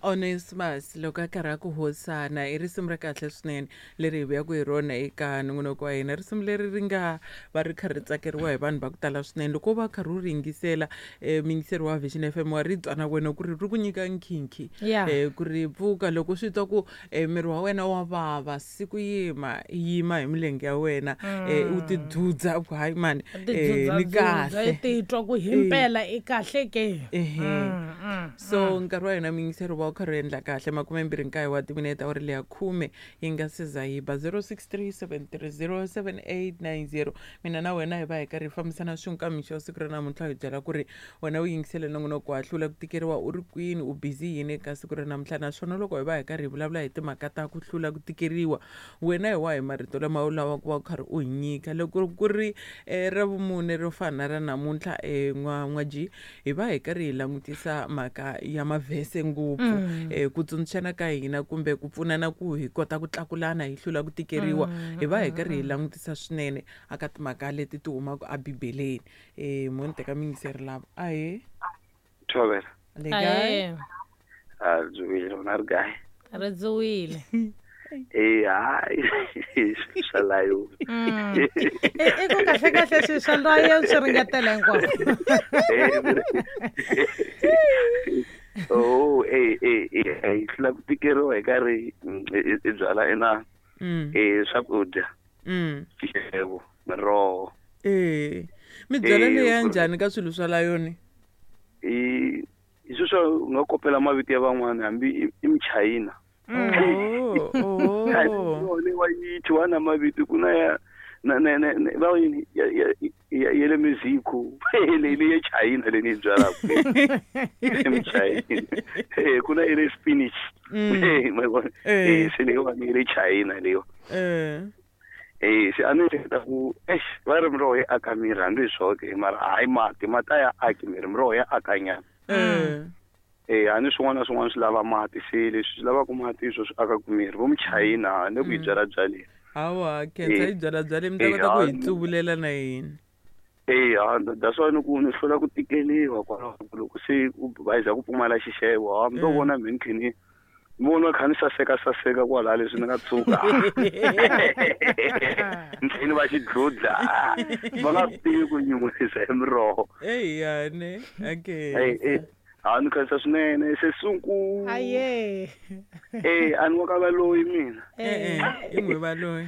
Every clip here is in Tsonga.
Onesmus loko a karhi a ku hosana i risimu ra kahle swinene leri hi vuyaka hi rona eka nongonoko wa hina. Risimu leri ri nga va ri kha ri tsakeriwa hi vanhu va ku tala swinene. Loko u va karhi u ri yingisela muyingiseri wa Vision FM wa ri twa na wena ku ri ri ku nyika nkhinkhi ku ri pfuka loko swi twa ku miri wa wena wa vava siku yima yima hi milenge ya wena u tidzudza u ku hayi mani ni kahle i titwa ku himpela i kahle ke. Ehe. So nkarhi wa hina muyingiseri wa wu karhi u endla kahle 29 wa timinete awara leya khume yi nga se za yi ba 0637307890. Mina na wena hi va hi karhi hi fambisana swin'we ka mixo wa siku ra namuntlha hi byela ku ri wena u yingisele nongonoko wa hlula ku tikeriwa u ri kwini u busy yini eka siku ra namuntlha naswona loko hi va hi karhi hi vulavula hi timhaka ta ku hlula ku tikeriwa wena hi wahi marito lama u lavaka ku va u karhi u hi nyika loko ku ri ra vumune ro fana na ra namuntlha n'wa G hi va hi karhi hi langutisa mhaka ya mavhese ngopfu ku tsundzuxana ka hina kumbe ku pfunana ku hi kota ku tlakulana hi hlula ku tikeriwa hi va hi karhi hi langutisa swinene aka timhaka leti ti humaka ebibeleni mo ni teka miyingiseri lava ahe. Thobela. Le kae? A ri dzuwile rona ri kae? Ri dzuwile. Eh, hayi swa layo. I ku kahle kahle swilo swa layo swi ringetela hinkwaswo. Oh, eh eh eh hi hlula ku tikeriwa hi karhi hi byala ina swakudya. Xixevo, miroho. Mi byala leya njhani ka swilo swa layoni? I sweswo u nga kopela mavito ya van'wana hambi i Muchayina. Oh, oh. Wa yi thyiwa na mavito ku na ya na na na va yini ya ya ya ya le Mexico leyi leyi ya China leyi ni yi byalaka Muchayina ku na ya le spinach se leyiwani ya le China leyiwa se a ni ehleketa ku eish va ri miroho yi aka miri hambi hi swoho ke mara hayi mati mati a ya aki miri miroho ya aka nyana. A ni swin'wana na swin'wana swi lava mati se leswi swi lavaka mati hi swo swi akaka miri vo Muchayina ni ku yi byala byaleni. Hawa khensa yi byala byaleni mi ta kota ku hi tsuvulela na hina. That's why ni ku ni hlula ku tikeliwa kwalaho loko se ku va za ku pfumala xixevo ha mi to vona mi ni khe ni vona kha ni saseka saseka kwalaha leswi ni nga tshuka ni tlhela ni va xidludla va nga swi tivi ku nyuhisa hi miroho. Eyane okay. Ha ni khensa swinene se sunku. Aye. A ni wa ka valoyi mina. I n'wi valoyi.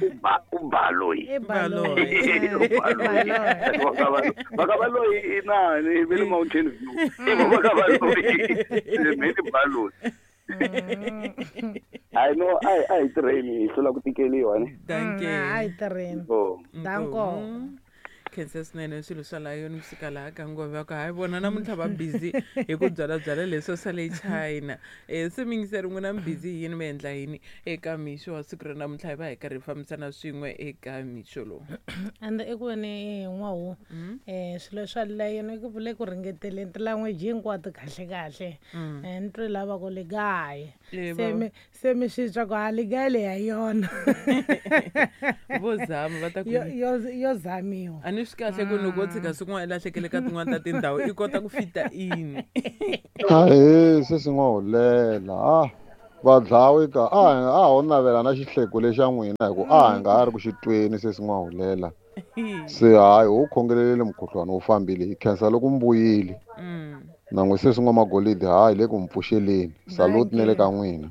U baloyi. I baloyi. Va ka valoyi i nani ve le Mountain View. I va ka valoyi. Me ni baloyi. I know a hi tirheni hi hlula ku tikeliwa ne. Dankie. A hi tirheni. Danko. Khensa swinene swilo swa layoni kusuka laha ka ngove va ku hayi vona namuntlha va busy hi ku byalabyala leswo swa le China. Se miyingiseri n'wina mi busy hi yini mi endla yini eka mixo wa siku ra namuntlha hi va hi karhi hi fambisana swin'we eka mixo lowu. Ende eku veni n'wahu swilo swa layoni ku vule ku ringeteleni ti-language hinkwato kahle kahle. Ni twe lava ku le kaye. Se mi swi twa ku ha le kaye leyi ya yona. Vo zama va ta ku yo zamiwa. A ni swi kahle ku loko wo tshika swin'wana i lahlekele ka tin'wana ta tindhawu i kota ku fita in. Ahee se swi nga hulela vadlawi ka a ho navela na xihleko lexa n'wina hi ku a hi nga ha ri ku xi tweni se swi nga hulela. Se hayi ho khongelelele mukhuhlwani wu fambile hi khensa loko mi vuyile. Na n'wi se swin'wa magolidi hayi le ku mi pfuxeleni. Salute ne le ka n'wina.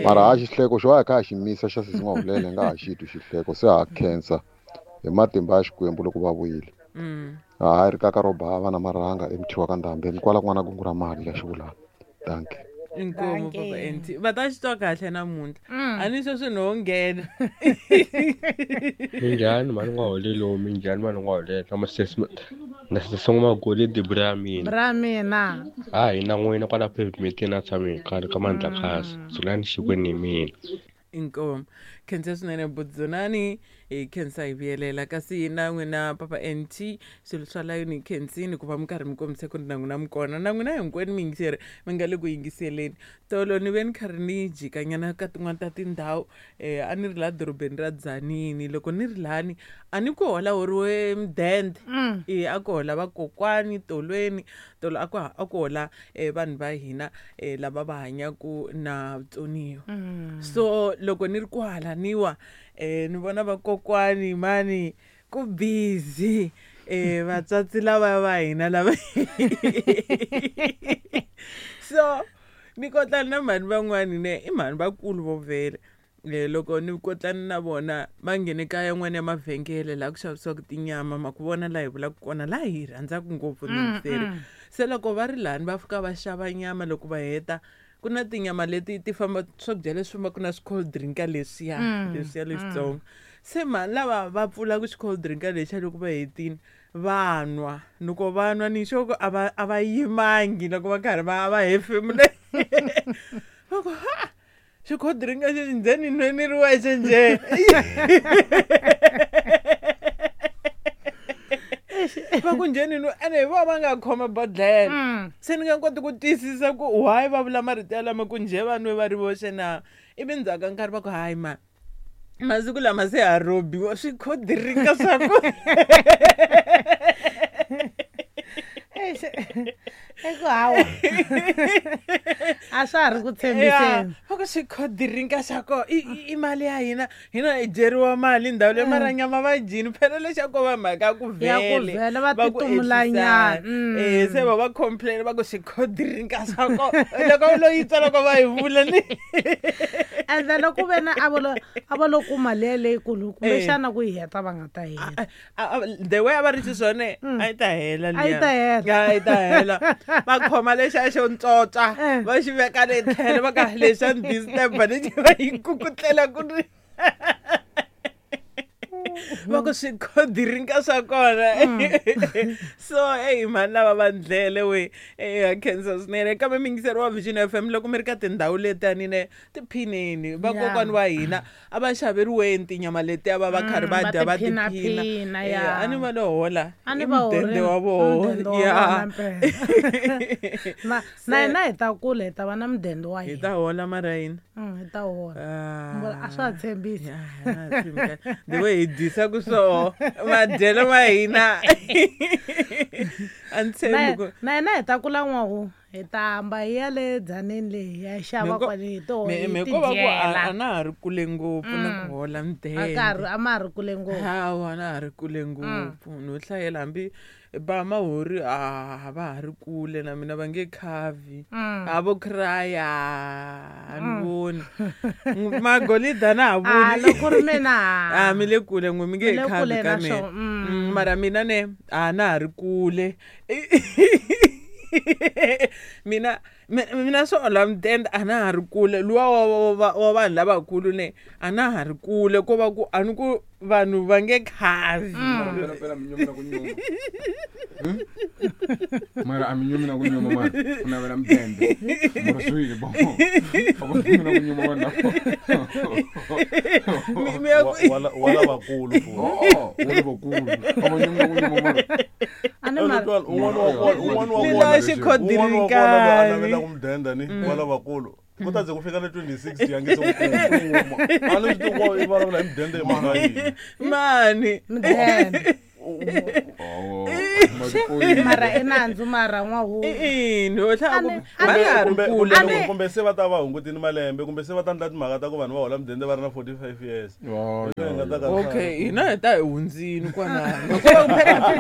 Mara ha xihleko xo a hi kha hi xi misa xa se swi nga hulela hi nga ha xi twi xihleko se ha khensa hi matimba ya Xikwembu loko va vuyile. Hayi ri kaka ro bava na marhanga emuthiwa ka ndhambi ni kwala ku nga na kungu ra mali ya xivulana. Dankie. Inkomu papa NT va ta xi twa kahle namuntlha a ni sweswi no nghena. Minjhani mhani n'waholelo minjhani mhani n'waholelo na masesi na sesi n'wamagolidi bra mina. Bra mina. Ha hina n'wina kwala pavement na tshami hi karhi ka mandla khasi dzulani xikweni hi mina. Inkomu khensa swinene budzunani hi khensa hi vuyelela kasi na n'wina papa NT swilo swa layoni hi khensini ku va mi karhi mi kombisa ku ri na n'wina mi kona na n'wina hinkwenu miyingiseri mi nga le ku yingiseleni. Tolo ni ve ni karhi ni jikanyana ka tin'wana ta tindhawu a ni ri laha dorobeni ra Dzanini loko ni ri lani a ni ku hola horiwe mudende a ku hola vakokwani tolweni. Tolo a ku a ku hola vanhu va hina lava va hanyaku na vutsoniwa. So loko ni ri kwala niwa ni vona vakokwani mani ku busy vatswatsi lava va hina lava. So ni kotlana na mhani van'wani ne i mhani vakulu vo vhele. Loko ni kotlana na vona va nghene ka yan'wana ya mavhengele laha ku xavisiwaka tinyama, ma ku vona laha hi vulaka kona laha hi rhandzaka ngopfu miyingiseri. Se loko va ri lani va fika va xava nyama, loko va heta ku na tinyama leti ti famba, swakudya leswi fambaka na swi-cold drinka leswiya leswiya leswitsongo. Se mhani lava va pfulaka xi-cold drinka lexiya, loko va hetini va nwa, loko va nwa ni sure ku a va yimangi loko va karhi va hefemula, va ku ha xi-cold drinka xexi ndzeni nwe ni ri wexe njhe. Va ku njheni nwe ene hi vona va nga khoma bodlhela. Se ni nga koti ku twisisa ku why va vula marito yalama ku njhe va nwe va ri voxe na, ivi ndzhaku ka nkarhi va ku hayi ma masiku lama se ha robiwa swi-cold drinka swa ku. Eish, eku hawa a swa ha ri ku tshembiseni. Va ku swi-cold drinka swa ko i mali ya hina, hina hi dyeriwa mali ndhawu leyi, mara nyama va dyini phela lexa ko va mhaka ya ku Ya ku vhele vhele va va ku titumulanyana. ehlisana. Se va va complain va ku swi-cold drinka swa ko loko lo yi twa loko va yi vula ni. And then loko ve na a va lo kuma liya leyikulu, kumbexana ku yi heta va nga ta heta. The way a va ri xiswona, a yi ta hela. A yi ta hela. A yi ta hela. Va khoma lexa xo ntsotsa, va xi veka le tlhelo, va ka lexa ni disturb lexi va yi kukutlela ku ri va ku swi-cold drinka swa kona. So eyi mhani lava va ndlele we ha khensa swinene. Kambe miyingiseri wa Vision FM, loko mi ri ka tindhawu letiyani ne tiphineni, vakokwani wa hina a va xaveriweni tinyama letiya va va karhi va va dya va tiphina. Tiphinaphina, A ni va lo hola A ni i va mudende horile. wa voho. Mudende wa vona mpela. Na hina hi ta kula hi ta va na mudende wa Hi hina. ta hola mara yini? Hi ta hola. Ah. A swa ha tshembisi. Ya, na tshembi kahle. The way hi dyisaka swoho madyelo ma hina a ni tshembi ku Na hina hi ta kula n'wahu, hi ta hamba hi ya le dzaneni leyi hi ya xava kwale hi to hi Me ko va ku tidyela. a na ha ri kule ngopfu na ku hola A mudende. karhi a ma ha ri kule ngopfu. Hawa, na ha ri kule ngopfu no hlayela hambi ba mahori a va ha ri kule na mina, va nge khavi a vo craya a ni voni magolida na ha A voni. Loko ri mina A mi le kule n'we, mi nge Mi le khavi kule ka na mina. swo. Mara mina ne a na ha ri kule mina mina swo hola mudende a na ha ri kule luwa wa vanhu lavakulu ne a na ha ri kule ko va ku a ni ku vanhu va nge khavi. Mara phela mi nyumi na ku nyuma. Mara a mi nyumi na ku nyuma, mara ku navela mudende. Mara swile bo. A va nyumi na ku nyuma vanhu lava. Mi ya Wa lavakulu futhi. Oh, wa lavakulu. A va nyumi na ku nyuma mara. A ni mara Un'wana wa kona, un'wana wa Ni kona lava xikhodirinkani. un'wana wa kona loyi a navelaka mudende ni wa lavakulu ku ta ze ku fika na 26 ya nge se ku kuma, a ni swi tivi ku i vulavula hi mudende hi mhaka yini. Mani. Mudende. Oh, matipoyini. Mara i nandzu mara n'wahu. I ho hlaya ku A va ni- nga ha ri kumbe kule. kumbe kumbe se va ta va hungutini malembe, kumbe se va ta endla timhaka ta ku vanhu va hola mudende va ri na 45 years. Oh, Hi nga ta ka Okay, hina hi ta hi hundzini kwalano hikuva phela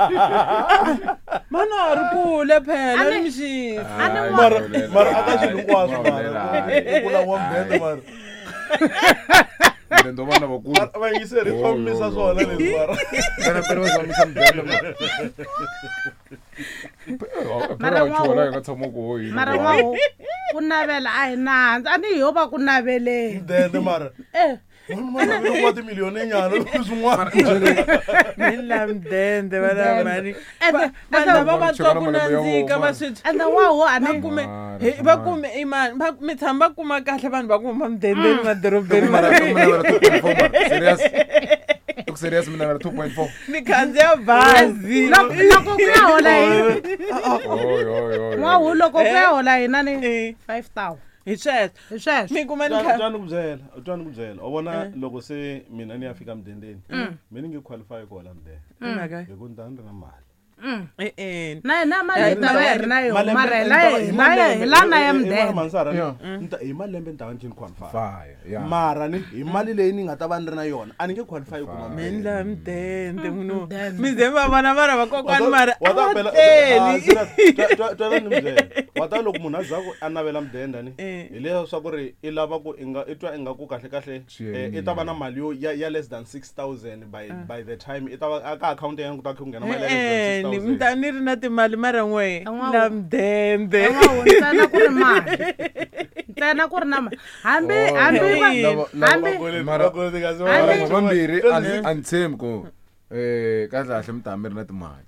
mana ha ri kule phela ni mixisi. Mara mara aka swilo hinkwaswo mara ku langiwa mudende mara. Mudende wa vanhu lavakulu. Vayingiseri swa misa swona leswi mara. Phela phela va zamisa mudende mara. Mara Phela wa chuha la hi nga tshama koho hina. Mara n'wahu ku navela a hi nandzu, a ni ho va ku naveleni. Mudende mara. Eh. Vanhu va navela ku va timiliyoni nyana swin'wana. Mi la mudende vana mani. Ende Vanhu lava va twa ku Cheka na malembe ya nandzika vona. va swi ende n'wahu a va ni kume Mara, va mara. kume imani va mi tshama va kuma kahle vanhu va ku huma mudendeni madorobeni. Mara mi navela 2.4 mara. Serious. Ku serious mi navela 2.4. Ni khandziya bazi. Loko ku ya hola hi Oy oy oy. n'wahu, loko ku ya hola hina ni 5000. Hi sweswo. Hi sweswo. Mi kuma ni kha Twani ku byela, twani ku byela, u vona loko se mina ni ya fika mudendeni, mi ni nge qualify ku hola mudende Mhaka hi ku ni ta ni ri na mali. E-e. Na yena mali yi ta va yi ri na yona Malembe- mara hi ni la ta va- hi la hi la na ya mudende Mansara, Yeah. hi malembe ni ta va ni tlhela ni qualify Fire, yeah. mara ni hi mali leyi ni nga ta va ni ri na yona a ni nge qualify ku kuma mi ndla mudende munhu mudende. mi ze mi va vona vana vakokwani mara Wa a ta va phela- teli Ah, serious. Twa ni mi byela. Wa ta loko munhu a za ku a navela mudende ni Eh. hi leswaku ri i lava ku i nga i twa ingaku kahle kahle Swi i ta va na mali yo ya less than 6000 by the time i ta va ka akhawunti ya yena ku ta kha ku nghena mali ya less E-e, than ni mi 6000 ta ni ri na timali mara n'we N'wa- la mudende N'wawu, ntsena ku ri mali ntsena ku ri na mali hambi Oh, hambi va- lava- hambi mara- Hambi- mara vambirhi a ni tshembi ku um kahle kahle mi ta mi ri na timali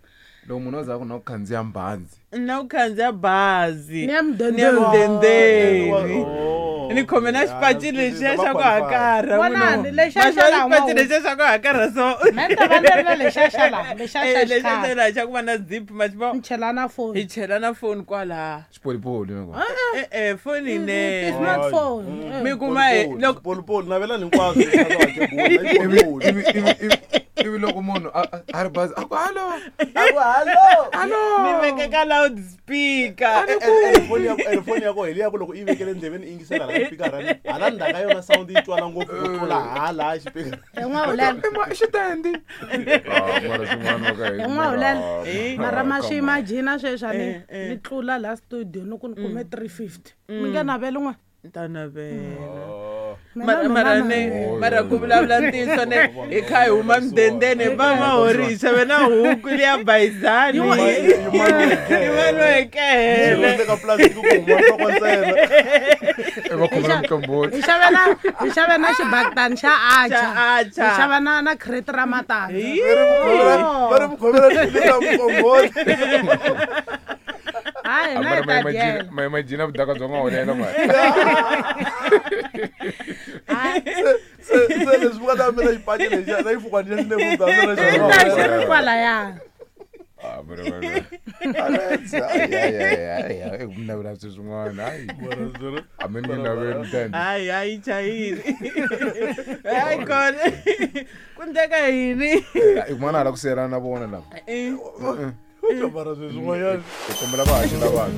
loko munhu a za ku na ku khandziya mbhandzi na ku khandziya bazi Ni ya mudendeni. Ni ya mudendeni Oh. ni khome na xipaci lexiya xa ku hakarha Vonani, munhu. lexiya Ma xa xona laha xipaci n'wawu. lexiya xa ku hakarha so Me ni ta va ni ri na lexiya xa laha lexiya xa Eh, lexiya xikhale xa laha xa ku va na zip ma xi ni chela na hi foni chela na foni kwalaha xipolipoli na e-e foni yinene ti-smartphone eh. mi kuma hi loko polipoli navelani hinkwaswo leswi a ivi loko munhu a ri bazi a ku hallo halo mi veke ka loud speaker foni ya koho hi leya ku loko i vekele ndleveni i yingisela hala xipikara hala ndzhaku ka yona sound yi twala ngopfu ku tlula hala xipikara N'wahulela i xitendi mara swin'wana wa ka hi N'wahulela Eh. mara ma swi imagina sweswi a ni Eh, eh. ni tlula la studio ni ku ni kume 350 mi nge naveli n'we Ni ta navela Mina mara mina mara na- ne Oh, mara ku vulavula ntiyiso ne hi kha hi huma mudendeni va mahori hi xave na huku liya bayizani yimaniwekele ka plastic ku huma nhloko ntsena va khomela muqombhoti hi xave na hi xave na xibakitani xa acha Xa atchar. hi xava na na crate ra matandza va ri mukhomela ra muqombhoti hayi na hi ta dyela ma imagina vudaka bya n'wahulela mara se leswi mi nga ta mina xipaci lexiya na xifukwana xa xile ta xi ri kwalaya Ah, mi navela swilo swin'wana hayi a mi ni nge naveli mudende hayi hayi chayini hayi kona ku ndleka yini i kumana hala ku siyelana na vona lava Eh. mara sweswin'wanyana hi kombela va haxela vanhu.